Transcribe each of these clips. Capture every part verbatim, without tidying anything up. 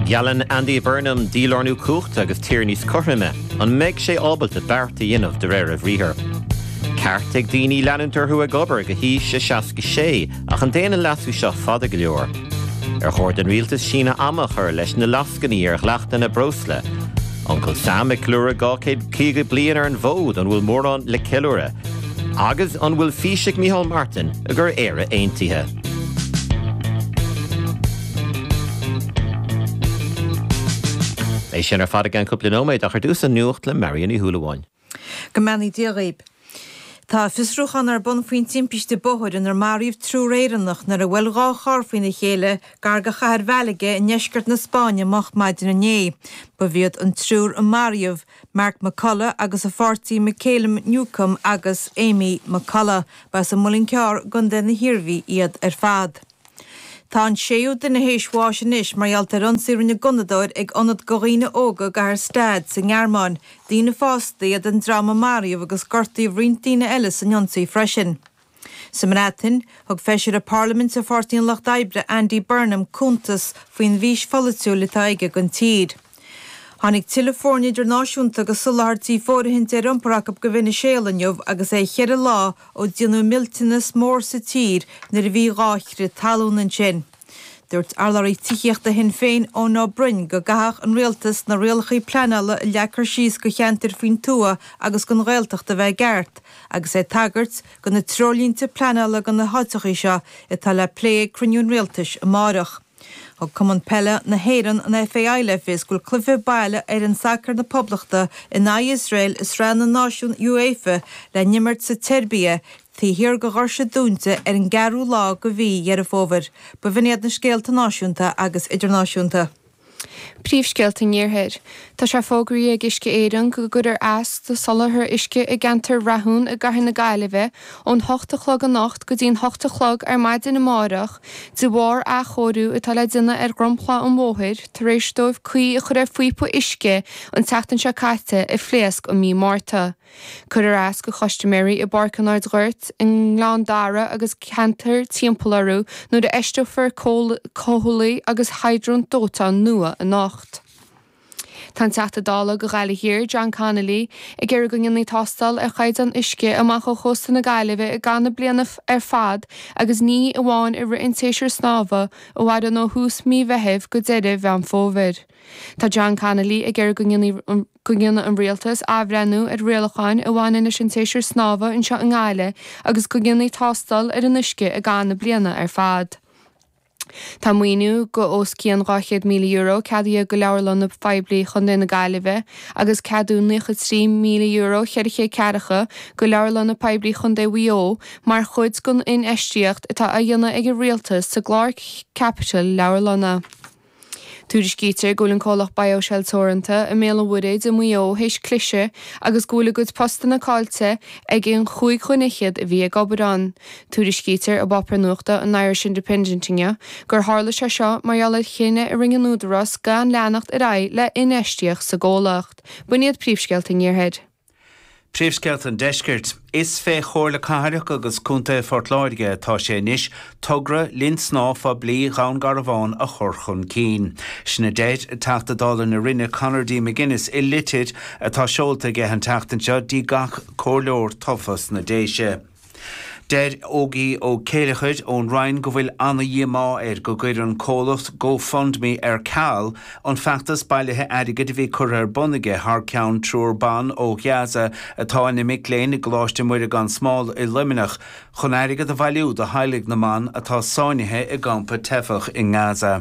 Geallann Andy Burnham dílárnú cumhachta agus tír níos cothroime, an mbeidh sé ábalta beart a dhéanamh de réir a bhriathair. Ceart ag daoine leanúint orthu ag obair go haois a seasca sé ach an dtéann an leasú seo fada go leor. Ar chóir don rialtas síneadh ama a chur leis na lascainí ar dhleachtanna breosla. Uncail Sam ag ceiliúradh dhá chéad caoga bliain ar an bhfód an bhfuil mórán le ceiliúradh. Agus an bhfuil fís ag Micheál Martin i gcomhair Éire Aontaithe. É sin ar fad i gceann cúpla nóiméad ach ar dtús an nuacht le Marion Ní Shúilleabháin. Go mbeannaí Dia dhaoib. Tá fiosrúchán ar bun faoin timpiste bóthair inar maraíodh triúr Éireannach nuair a bhuail dhá charr faoina chéile gar do chathair Mhálaga i ndeisceart na Spáinne moch maidin inné. Ba iad an triúr a maraíodh Mark McCullough agus a pháirtí Michaela Newcomb agus Amy McCullough. Ba as an Muileann Cearr i gContae na hIarmhí iad ar fad. Tá an séú duine théis bháis anois mar gheall ar ionsaí a rinne gunnadóir ag ionad do dhaoine óga i gcathair Stade sa nGearmáin. Daoine fásta iad an dream a maraíodh agus gortaíodh roinnt daoine eile san ionsaí freisin. Sa mBreatain, thug feisire Parlaiminte Pháirtí an Lucht Oibre Andy Burnham cuntas faoin bhfís pholaitiúil atá aige don tír. Tháinig tuilleadh foirne idirnáisiúnta agus soláthairtí fóirithinte ar iompar acu go Veiniséala inniu agus é cheithre lá ó déanadh millteanas mór sa tír nuair a bhí dhá chrith talún ansin. Dúirt urlabhraí tithíochta Shinn Féin Eoin Ó Broin go gcaithfeadh an rialtas na rialacha pleanála a leagtar síos go cheantair faoin tuath agus don Ghaeltacht a bheith i gceart, agus é ag tagairt do na treoirlínte pleanála do na háiteacha seo atá le plé ag cruinniú an rialtais amárach. Thug Cumann Peile na hÉireann an FAI le fios go bhfuil cluiche baile fhoireann sacair na Poblachta in aghaidh Iosrael i Sraith na Náisiún UEFA le n-imirt sa tSeirbia taobh thiar de dhoirse dúnta ar an gceathrú lá de mhí Dheireadh Fómhair. Ba bh'in iad na scéalta náisiúnta agus idirnáisiúnta. Príomhscéalta an Iarthair. Tá sé fógraithe ag Uisce Éireann go gcuirfear as do soláthar uisce i gceantar Rathún i gcathair na Gaillimhe ón hocht a chlog anocht go dtí'n hocht a chlog ar maidin amárach de bharr athchóiriú atá le déanamh ar dhromchla an bhóthair tar éis dóibh caoi a chur ar phíopa uisce an tseachtain seo caite a phléasc i mí Márta. Cuirfear as do chustaiméirí i bPáirc an Ardghoirt, i nGleann Dara agus ceantair timpeall orthu nuair a fheisteofar comhlaí agus hydrant dóiteáin nua anocht. Tá an Teachta Dála do Ghaillimh Thiar, John Connolly, ag iarraidh go ndéanfaí tástáil ar chaighdeán uisce amach ó chósta na Gaillimhe i gcaitheamh na bliana ar fad agus ní amháin i rith an tséasúir snámha a mhaireann ó thús mí Mheithimh go deireadh Mheán Fómhair. Tá John Connolly ag iarraidh go ndéanfaí go ndéanfaidh an rialtas athbhreithniú ar rialacháin a bhaineann leis an tséasúr snámha anseo i nGaillimh agus go ndéanfaí tástáil ar an uisce i gcaitheamh na bliana ar fad. Tá maoiniú go os cionn dhá chéad míle euro ceadaithe go leabharlanna poiblí Chontae na Gaillimhe agus ceadú naocha trí míle euro cheithre chéad ceathracha go leabharlanna poiblí Chontae Mhaigh Eo mar chuid den infheistíocht atá á dhéanamh ag an rialtas sa gclár caipitil leabharlanna. Tuairiscítear go bhfuil an comhlacht BioShell Teoranta i mBéal an Mhuirthead i Maigh Eo théis cliseadh agus go bhfuil a gcuid postanna caillte ag an chúig dhuine fhichead a bhí ag obair ann. Tuairiscítear i bpáipéar nuachta an Irish Independent inniu gur tharla sé seo mar gheall ar chinneadh a rinne an Údarás gan leanacht ar aghaidh le infheistíocht sa gcomhlacht. B'in iad príomhscéalta an Iarthair. Príomhscéalta an Deiscirt. Is fé Chomhairle Cathrach agus Contae Phort Láirge atá sé anois togra linn snámha phoiblí Dhún Garbhán a chur chun cinn. Sin a deir Teachta Dála na Rinne Conor D. McGuinness i litir atá seolta aige an tseachtain seo dtí gach comhairleoir tofa sna Déise. Deir Ógie Ó Céileachair ón Rinn go bhfuil ana-dhíomá air go gcuir an comhlacht GoFundMe ar ceal an feachtas bailithe airgid a bhí curtha ar bun aige thar ceann triúr ban ó Ghaza atá ina mic léinn i gColáiste Muire gan Smál i Luimneach chun airgead a bhailiú do theaghlaigh na mban atá sáinnithe i gcampa teifeach i nGaza.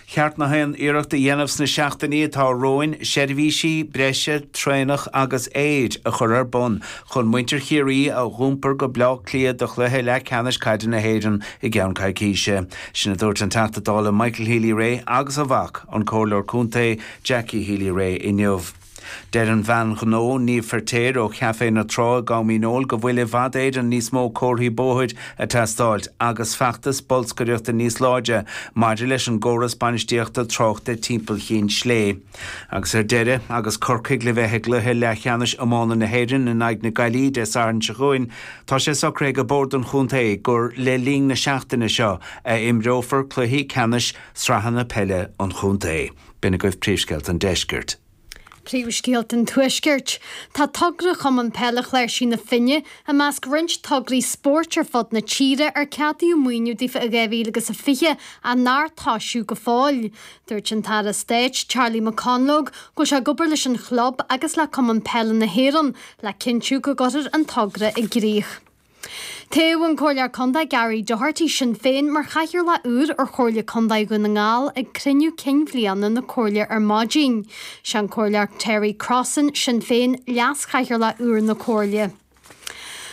Ceart na haon iarracht a dhéanamh sna seachtainí atá romhainn seirbhísí breise traenach agus aeir a chur ar bun chun muintir Chiarraí a dh'iompar go Bleá Cliath do chluiche leathcheannais caide na hÉireann i gceann coicíse. Sin a dúirt an Teachta Dála Michael Healy-Rae agus a mhac, an Comhairleoir Contae Jackie Healy-Rae inniu. Deir an bhean ghnó Niamh Feirtéar ó Chaifé na Trá i gCom Dhíneol go bhfuil i bhfad Éireann níos mó comharthaí bóthair ag teastáil agus feachtas bolscaireachta níos láidre maidir leis an gcóras bainistíochta tráchta timpeall Chinn Slé. Agus ar deireadh, agus Corcaigh le bheith i gcluiche leathcheannais iomána na hÉireann in aghaidh na Gaillimhe Dé Sathairn seo chugainn, tá sé socraithe ag Bord an Chontae gur le linn na seachtaine seo a imreofar cluichí ceannais sraitheanna peile an chontae. B'in agaibh príomhscéalta an deiscirt. Príomhscéalta an Tuaiscirt. Tá togra Chumann Peile Chláirsí na Finne i measc roinnt tograí spóirt ar fud na tíre ar ceadaíodh maoiniú daofa i dhá mhíle agus a fiche ach nár tosaíodh go fóill. Dúirt an tAire Stáit, Charlie McConalogue, go bhfuil sé ag obair leis an chlub agus le Cumann Peile na hÉireann le cinntiú go gcuirfear an togra i gcrích. Toghadh an Comhairleoir Contae Gary Doherty, Sinn Féin, mar Chathaoirleach úr ar Chomhairle Contae Dhún na nGall ag cruinniú cinn bhliana na Comhairle ar maidin. Sé an Comhairleoir Terry Crossan, Sinn Féin, Leas-Chathaoirleach úr na Comhairle.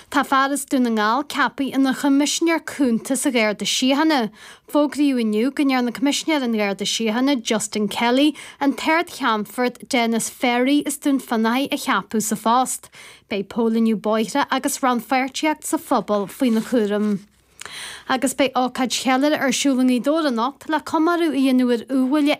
Tá fear as Dún na nGall ceaptha ina Choimisinéir Cúnta sa Gharda Síochána. Fógraíodh inniu go ndearna Coimisinéir an Gharda Síochána, Justin Kelly, an tArd-Cheannfort Denis Ferry as Dún Fionnachaidh a cheapadh sa phost. Beidh póilíniú bóithre agus rannpháirtíocht sa phobal faoina chúram. Agus beidh ócáid cheiliúrtha ar siúl i nGaoth Dobhair anocht le comóradh a dhéanamh ar iubhaile